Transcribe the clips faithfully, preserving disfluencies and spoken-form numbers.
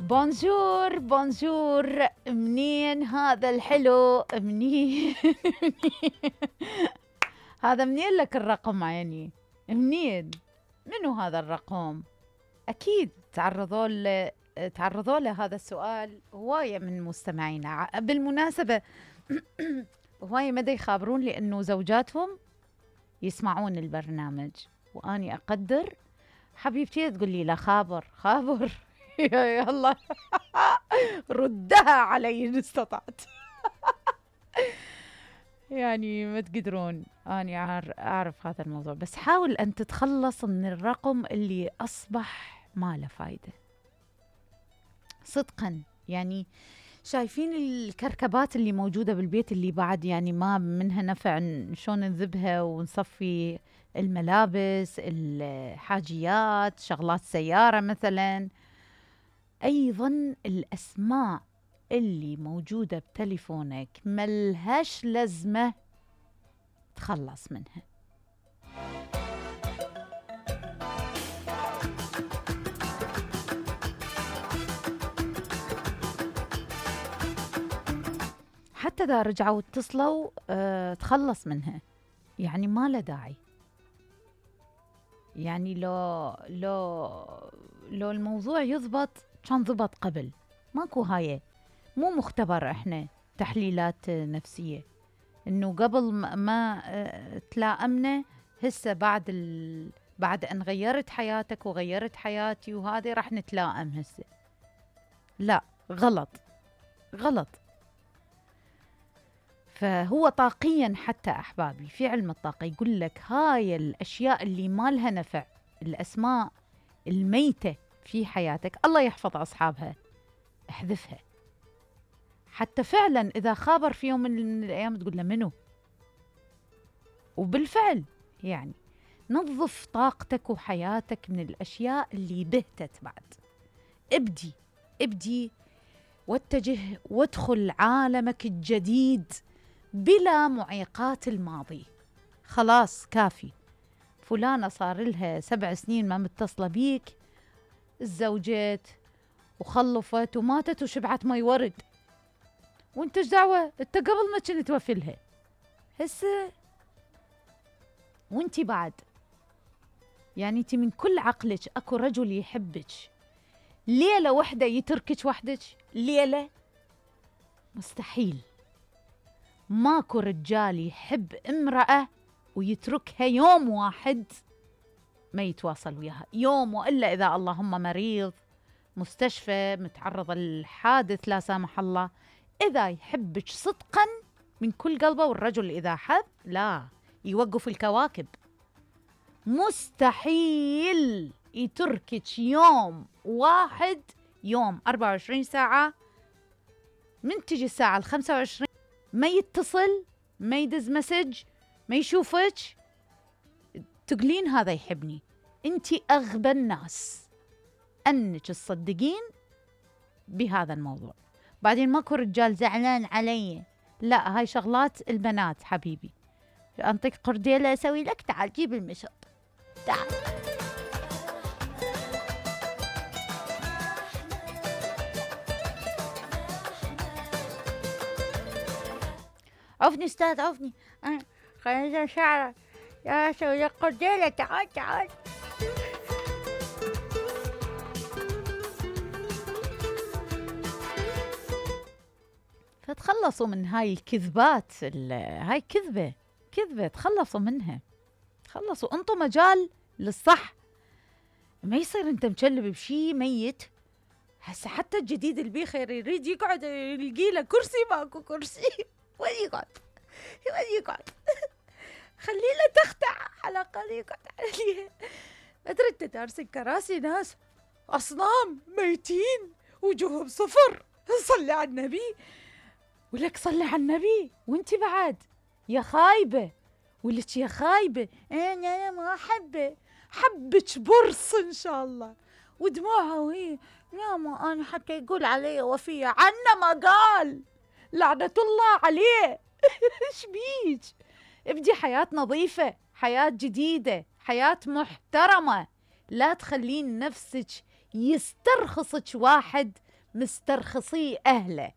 بونجور بونجور، منين هذا الحلو؟ منين؟ هذا منين لك الرقم عيني؟ منين؟ منو هذا الرقم؟ أكيد تعرضوا له تعرضوا له هذا السؤال هواية من مستمعينا. بالمناسبة هواية مدى يخابرون لي أنه زوجاتهم يسمعون البرنامج، وأني أقدر. حبيبتي تقول لي لا خابر خابر يا الله ردها علي إن استطعت. يعني ما تقدرون، أنا أعرف هذا الموضوع، بس حاول أن تتخلص من الرقم اللي أصبح ما له فايدة صدقا. يعني شايفين الكركبات اللي موجودة بالبيت اللي بعد يعني ما منها نفع، شلون نذبها ونصفي الملابس، الحاجيات، شغلات سيارة مثلا. أيضا الأسماء اللي موجودة بتليفونك ملهاش لازمة، تخلص منها. حتى إذا رجعوا اتصلوا اه تخلص منها، يعني ما له داعي. يعني لو لو لو الموضوع يضبط كان ضبط قبل. ماكو هاي، مو مختبر احنا تحليلات نفسية انه قبل ما اه تلائمنا هسه بعد ال... بعد ان غيرت حياتك وغيرت حياتي وهذه راح نتلائم هسه. لا، غلط غلط. فهو طاقيا حتى أحبابي في علم الطاقة يقول لك هاي الأشياء اللي ما لها نفع، الأسماء الميتة في حياتك، الله يحفظ أصحابها، احذفها. حتى فعلا إذا خابر في يوم من الأيام تقول له منو، وبالفعل يعني نظف طاقتك وحياتك من الأشياء اللي بهتت. بعد ابدي ابدي واتجه وادخل عالمك الجديد بلا معيقات الماضي. خلاص كافي. فلانة صار لها سبع سنين ما متصلة بيك، الزوجات وخلفت وماتت وشبعت مي ورد، وانت ايش دعوة؟ انت قبل ما كنت توفي لها هسه وانت بعد. يعني انت من كل عقلك اكو رجل يحبك، ليلة واحدة يتركك وحدك؟ ليلة مستحيل. ماكو رجال يحب امرأة ويتركها يوم واحد ما يتواصل وياها، يوم، وإلا إذا اللهم مريض، مستشفى، متعرض للحادث لا سامح الله. إذا يحبك صدقا من كل قلبه، والرجل إذا حب لا يوقف الكواكب. مستحيل يتركك يوم واحد، يوم أربعة وعشرين ساعة، من تجي الساعة الخمسة وعشرين ما يتصل، ما يدز مسج، ما يشوفك، تقولين هذا يحبني. انتي أغبى الناس أنك تصدقين بهذا الموضوع. بعدين ماكو رجال زعلان علي، لا، هاي شغلات البنات حبيبي. أنطيك قرديلة أسوي لك، تعال جيب المشط، تعال. عفني استاذ عفني، أنا خلينا شعرك يا أسوي لك قرديلة، تعال تعال. فتخلصوا من هاي الكذبات، هاي كذبة كذبة، تخلصوا منها، تخلصوا، انطوا مجال للصح. ما يصير انت مشلب بشي ميت. هسه حتى الجديد البيخير يريد يقعد يلقي له كرسي، ماكو كرسي، وين يقعد؟ وين يقعد؟ خلي له تختع على الأقل يقعد عليها. أدري أنت دارسين كراسي ناس أصنام ميتين وجوههم صفر. صلي على النبي، ولك صلي على النبي. وانتي بعد يا خايبة، ولك يا خايبة. أنا ما أحبه، حبك برص إن شاء الله، ودموعها وهي يا ما أنا حتى يقول علي وفية، عنا ما قال، لعنة الله عليه. إيش بيك؟ ابدي حياة نظيفة، حياة جديدة، حياة محترمة. لا تخلين نفسك يسترخصك واحد مسترخصيه أهله.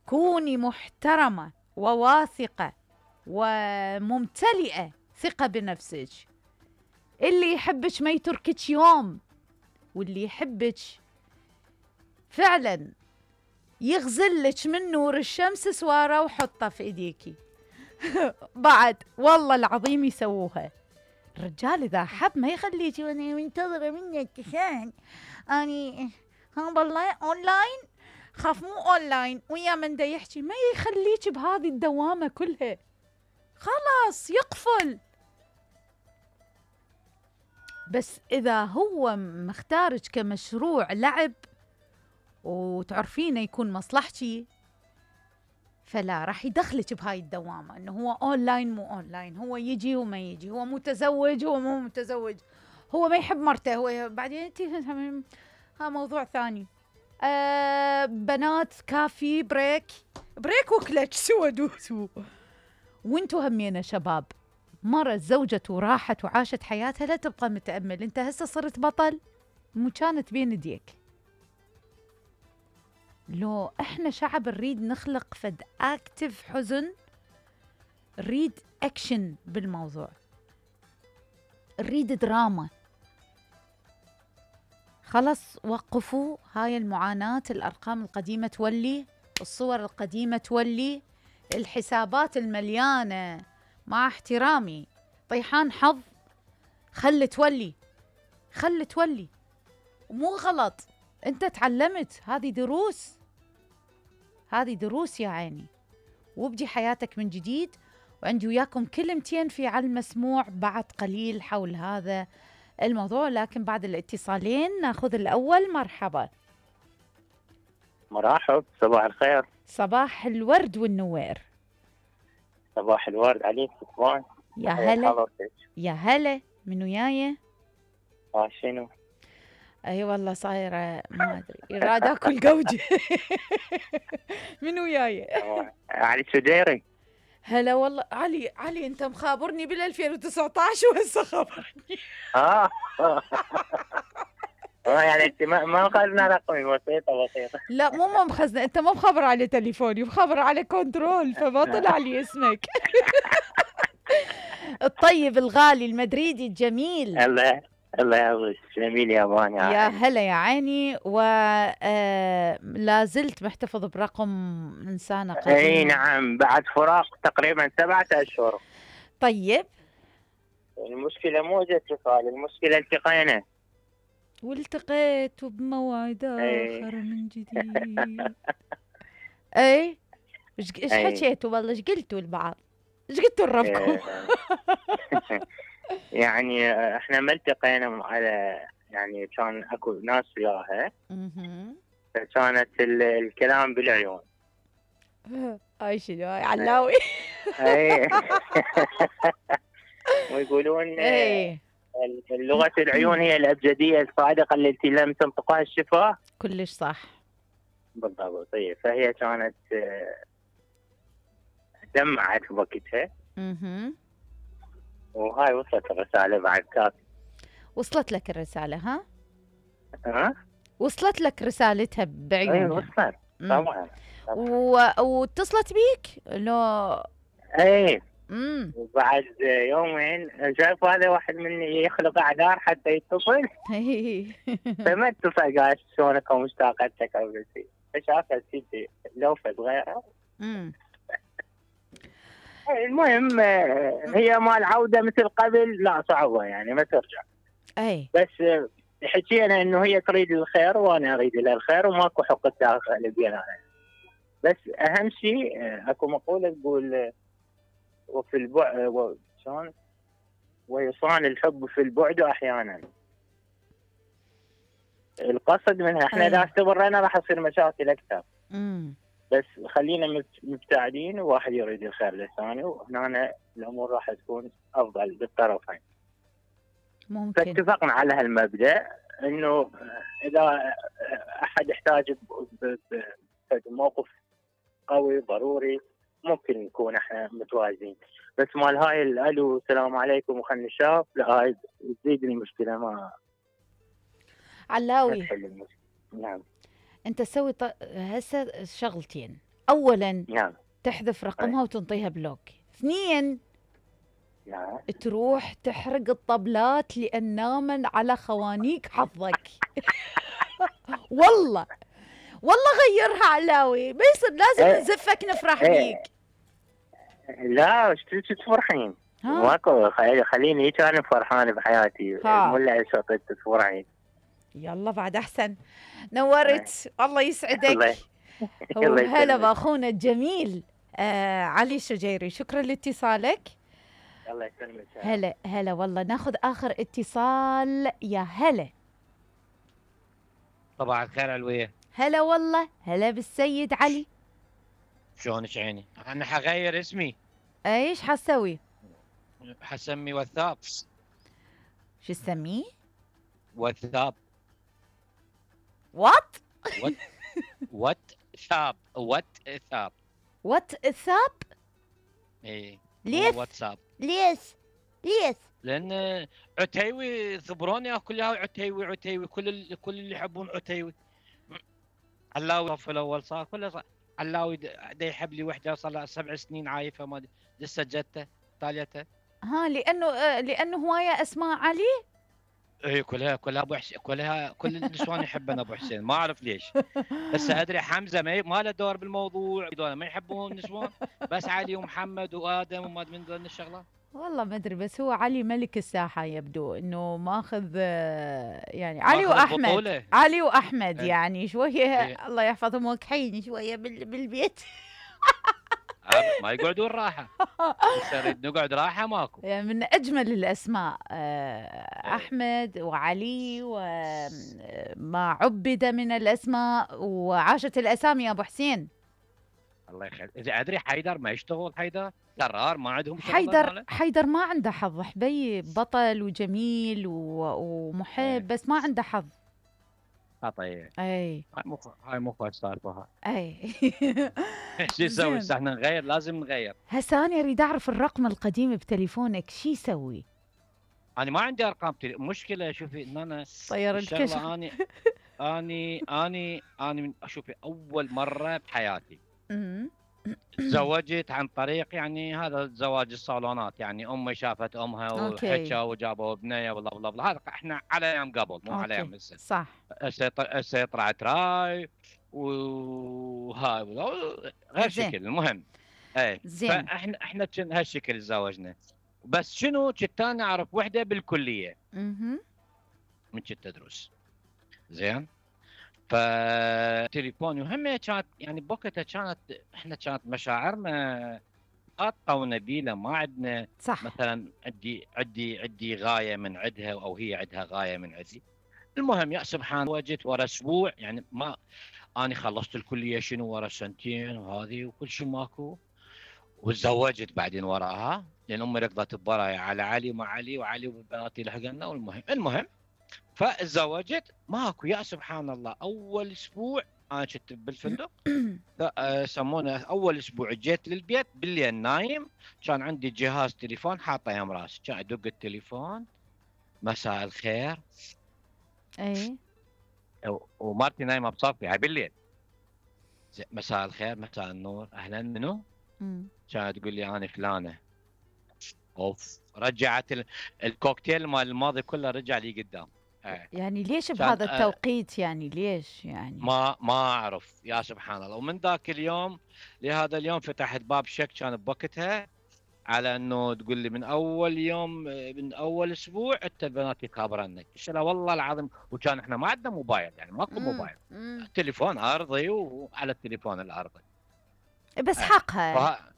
كوني محترمة وواثقة وممتلئة ثقة بنفسك. اللي يحبك ما يتركك يوم، واللي يحبك فعلا يغزلك من نور الشمس سواره وحطه في ايديكي. بعد والله العظيم يسووها. الرجال اذا حب ما يخليكي وانا منتظره منك عشان اني ها والله اونلاين، خاف مو اونلاين ويا من دا يحكي، ما يخليك بهذه الدوامه كلها. خلاص يقفل. بس اذا هو مختارك كمشروع لعب وتعرفينه يكون مصلحتي، فلا راح يدخلك بهاي الدوامه انه هو اونلاين مو اونلاين، هو يجي وما يجي، هو متزوج هو مو متزوج، هو ما يحب مرته، هو بعدين انت ها موضوع ثاني. آه بنات كافي بريك بريك وكلتش سوى دوسوا. وانتو همينه شباب، مرة زوجته وراحت وعاشت حياتها، لا تبقى متأمل. انت هسه صرت بطل، مو كانت بين يديك. لو احنا شعب نريد نخلق فد اكتف حزن، نريد اكشن بالموضوع، نريد دراما. خلص وقفوا هاي المعاناة. الارقام القديمة تولي، الصور القديمة تولي، الحسابات المليانة مع احترامي طيحان حظ، خل تولي خل تولي. مو غلط، انت تعلمت، هذه دروس، هذه دروس يا عيني. وابدي حياتك من جديد. وعندي وياكم كلمتين في على المسموع بعد قليل حول هذا الموضوع، لكن بعد الاتصالين ناخذ الأول. مرحبا. مرحب، صباح الخير. صباح الورد والنوير. صباح الورد عليك صباح. يا هلا يا هلا. من وياي؟ اه شنو؟ اي والله صايره ما ادري، راد اكل قوجه. من وياي؟ علي سديري. هلا والله علي. علي انت مخابرني بال ألفين وتسعة عشر وهسه خبرني. اه اه يعني انت ما ما مخزنه رقمي، بسيطه بسيطه. لا مو ما مخزنه، انت ما مخبر على تليفوني، مخبر على كنترول، فما طلع لي اسمك. الطيب الغالي المدريدي الجميل. الله الله يعوضك. جميل يا باني. يا هلا يا عيني. ولا زلت محتفظ برقم إنسانة قديمة. اي نعم، بعد فراق تقريبا سبعة اشهر. طيب المشكله مو اتصال، المشكله التقينا. والتقيت بموعد اخر من جديد. اي ايش حكيتوا والله؟ ايش قلتوا لبعض؟ ايش قلتوا لربكم؟ يعني احنا ما التقينا على، يعني كان اكو ناس وياها، فكانت الكلام بالعيون. هاي شنو هاي علاوي؟ اي ويقولون لغة العيون هي الابجدية الصادقة التي لم تنطقها الشفاه. كلش صح بالضبط. طيب فهي كانت دمعت بوقتها. اها وهاي وصلت الرسالة بعد كافي. وصلت لك الرسالة؟ ها؟ ها؟ وصلت لك رسالتها بعيونها؟ اي وصلت طبعا. و... واتصلت بيك؟ لو اي امم وبعد يومين شايف هذا واحد مني يخلق اعذار حتى يتصل. فما اتصل قال شلونك ومشتاقتك او شيء، فشافت سيدي لوفت غيرها. امم المهم هي مال عوده مثل قبل لا صعبه، يعني ما ترجع. اي بس حكينا انه هي تريد الخير وانا اريد لها الخير وماكو حقد داخل بيننا. بس اهم شيء اكو مقوله تقول وفي البعد شلون ويصان الحب في البعد احيانا. القصد منها احنا اذا استمرينا راح تصير مشاكل اكثر. امم بس خلينا مبتعدين وواحد يريد الخير للثاني، وهنا الامور راح تكون افضل بالطرفين. ممكن. فاتفقنا على هالمبدا انه اذا احد احتاج بموقف قوي ضروري ممكن نكون احنا متوازين. بس مال هاي الالو السلام عليكم وخلنا نشاف، لا هاي تزيد المشكله. ما علاوي تحل المشكله. نعم انت تسوي ط... هسه شغلتين. اولا نعم. تحذف رقمها وتنطيها بلوك. اثنين نعم. تروح تحرق الطبلات لان نامن على خوانيك حظك. والله والله غيرها علاوي، ما يصير لازم إيه. نزفك نفرح إيه. بيك. لا ايش تفرحين؟ ها ماكو، خلي- خليني هيك انا فرحان بحياتي، ها. مو اللي صوت تفرحين. يلا بعد احسن. نورت، الله الله يسعدك. الله وهلا يسلمك. باخونا الجميل آه علي الشجيري، شكرا لاتصالك. الله يسلمك. هلا هلا والله. ناخذ اخر اتصال. يا هلا. صباح الخير علوية. هلا والله. هلا بالسيد علي. شلونك عيني؟ انا حغير اسمي، ايش حسوي؟ حسمي وثاب. شو تسميه؟ وثاب. وات وات وات ثاب وات ثاب. وات ثاب؟ ايه ليش؟ واتساب. ليش ليش؟ لان عتيوي ثبروني كلها عتيوي عتيوي، كل ال... كل اللي يحبون عتيوي. علاوي في الاول صار كله صار علاوي دا يحب لي وحده صار لها سبع سنين عايفه، ما لسه جته تاليته. ها لانه آه لانه هوايه اسماء علي. اي كلها كلها ابو حسين، كلها كل النسوان يحبون ابو حسين، ما اعرف ليش. هسه ادري حمزه ما, ما له دور بالموضوع، دول ما يحبون النسوان، بس علي ومحمد وادم وما من ذول الشغلات. والله ما ادري، بس هو علي ملك الساحه يبدو انه ماخذ آه، يعني علي ماخذ واحمد البطولة. علي واحمد إيه. يعني شويه إيه. الله يحفظهم وكحين شويه بال- بالبيت. ما يقعدون راحه، هسه نريد نقعد راحه ماكو. يعني من اجمل الاسماء آه، إيه. احمد وعلي وما عبد من الاسماء وعاشت الاسامي يا ابو حسين. الله يخليك. اذا ادري حيدر ما يشتغل، حيدر قرار ما عندهم شغل حيدر ماله. حيدر ما عنده حظ حبي، بطل وجميل و- ومحب إيه. بس ما عنده حظ. خطيه. اي هاي مو هاي مو كويس السالفه هاي. اي. شو نسوي زين. هسه؟ احنا نغير، لازم نغير. هسه انا اريد اعرف الرقم القديم بتليفونك شو يسوي؟ انا ما عندي ارقام تلي... مشكله شوفي ان انا طير الكشف. الشغله اني اني اني اني من شوفي اول مره بحياتي أمم. تزوجت عن طريق يعني هذا زواج الصالونات، يعني امي شافت امها أوكي. وحكوا وجابوا بنيه ولا بلا بلا. هذا احنا على ايام قبل مو على ايام أوكي. هسه. صح. هسه ط- هسه طلعت راي وهاي ولا- غير زين. شكل. المهم اي زين. فاحنا احنا كن هالشكل تزوجنا. بس شنو كنت انا اعرف وحده بالكليه اها. من كنت ادرس. زين. فتليفوني وهم كانت يعني بوقتها كانت احنا كانت مشاعرنا خاطئه ونبيله، ما عندنا صح. مثلا عندي عندي عندي غايه من عندها او هي عندها غايه من عندي. المهم يا سبحان وجيت ورا اسبوع، يعني ما انا خلصت الكليه شنو ورا سنتين وهذه وكل شيء ماكو، وتزوجت بعدين وراها لان امي ركضت ببرايا على علي مع علي وعلي وبناتي لحقنا. والمهم المهم فتزوجت ماكو يا سبحان الله. اول اسبوع انا كنت بالفندق يسمونه اول اسبوع جيت للبيت بالليل نايم، كان عندي جهاز تليفون حاطه يم راسي، كان ادق التليفون مساء الخير. اي. ومرتي نايمه بصفي هاي بالليل. مساء الخير مساء النور اهلا منو؟ أمم. كانت تقول لي انا فلانه. اوف رجعت ال- الكوكتيل مال الماضي كله رجع لي قدام. آه. يعني ليش كان- بهذا آه. التوقيت؟ يعني ليش يعني؟ ما ما اعرف يا سبحان الله. ومن ذاك اليوم لهذا اليوم فتحت باب شك كان بوقتها على انه تقول لي من اول يوم من اول اسبوع انت البنات يخابرنك. قلت لها والله العظيم. وكان احنا ما عندنا موبايل، يعني ماكو أمم. موبايل، أمم. تليفون ارضي وعلى التليفون الارضي. بس آه. حقها. فه...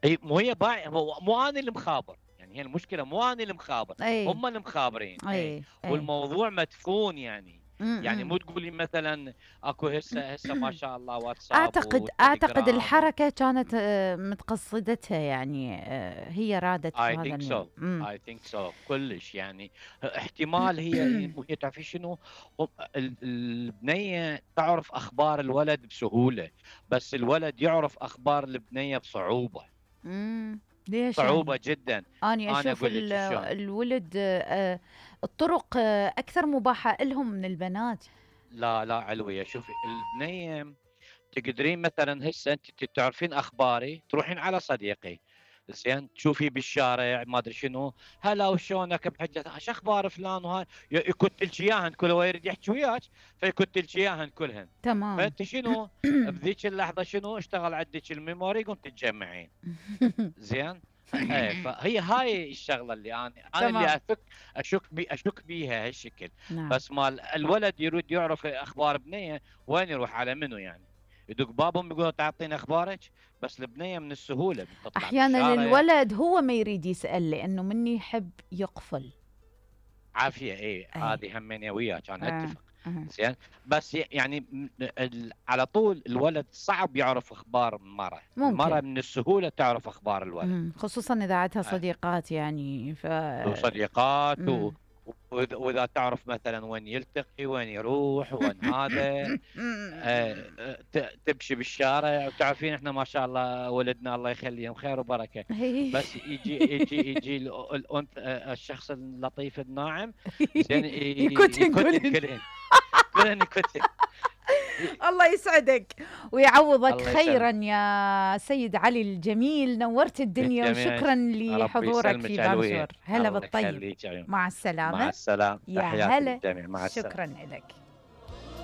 اي مو هي باع، مو, مو انا اللي مخابر، يعني هي المشكله مو انا اللي مخابر، اي. هم اللي مخابرين. اي. اي. والموضوع مدفون يعني. أمم. يعني مو تقولي مثلا اكو هسه هسه ما شاء الله واتساب اعتقد اعتقد وتليجرام. الحركه كانت آه، متقصدتها، يعني آه، هي رادت اي بهذا ثينك سو النوع. أمم. اي ثينك سو كلش يعني. احتمال هي وهي تعرفي شنو، هم- ال- البنيه تعرف اخبار الولد بسهوله، بس الولد يعرف اخبار البنيه بصعوبه. أمم. ليش صعوبه يعني؟ جدا. أنا أنا أشوف أقول لك ال- شلون. الولد آه، الطرق آه، أكثر مباحة لهم من البنات. لا لا علويه. شوفي البنيه تقدرين مثلا هسه انت تعرفين اخباري تروحين على صديقي زين تشوفي بالشارع ما ادري شنو هلا وشلونك بحجه ايش اخبار فلان وهاي يكت لك اياهن كل هو يريد يحكي وياك فيكت لك اياهن كلهن. تمام. فانت شنو بذيك اللحظه شنو اشتغل عندك الميموري قمت تجمعين زين. ايه فهي هاي الشغله اللي انا انا تمام. اللي افك اشك بي اشك بيها هالشكل. نعم. بس مال الولد يريد يعرف اخبار بنيه وين يروح على منو يعني يدق بابهم يقول تعطيني اخبارك. بس البنيه من السهوله بتطلع احيانا بالشارع. الولد هو ما يريد يسال لانه مني يحب يقفل. عافيه اي أي. هذه همين وياك انا آه. اتفق آه. زين. بس يعني م- ال- على طول الولد صعب يعرف اخبار المراه. ممكن. المراه من السهوله تعرف اخبار الولد. مم. خصوصا اذا عندها آه. صديقات يعني ف وصديقات و... مم. وإذا وإذا تعرف مثلا وين يلتقي وين يروح وين هذا آه، ت- تمشي بالشارع وتعرفين احنا ما شاء الله ولدنا الله يخليهم خير وبركه. بس يجي يجي يجي ال- الأنثى آه، الشخص اللطيف الناعم زين ي- يكتن يكتن كلهن. كلهن كلهن يكتن. الله يسعدك ويعوضك الله خيرا يسلمك. يا سيد علي الجميل، نورت الدنيا بالجميع. وشكرا ربي لحضورك يسلمك في علوية. بانجور. هلا الله بالطيب. يخليك يا عيون. مع السلامة. مع السلامه يا تحياتي هلا. للجميع. مع السلامه. شكرا لك.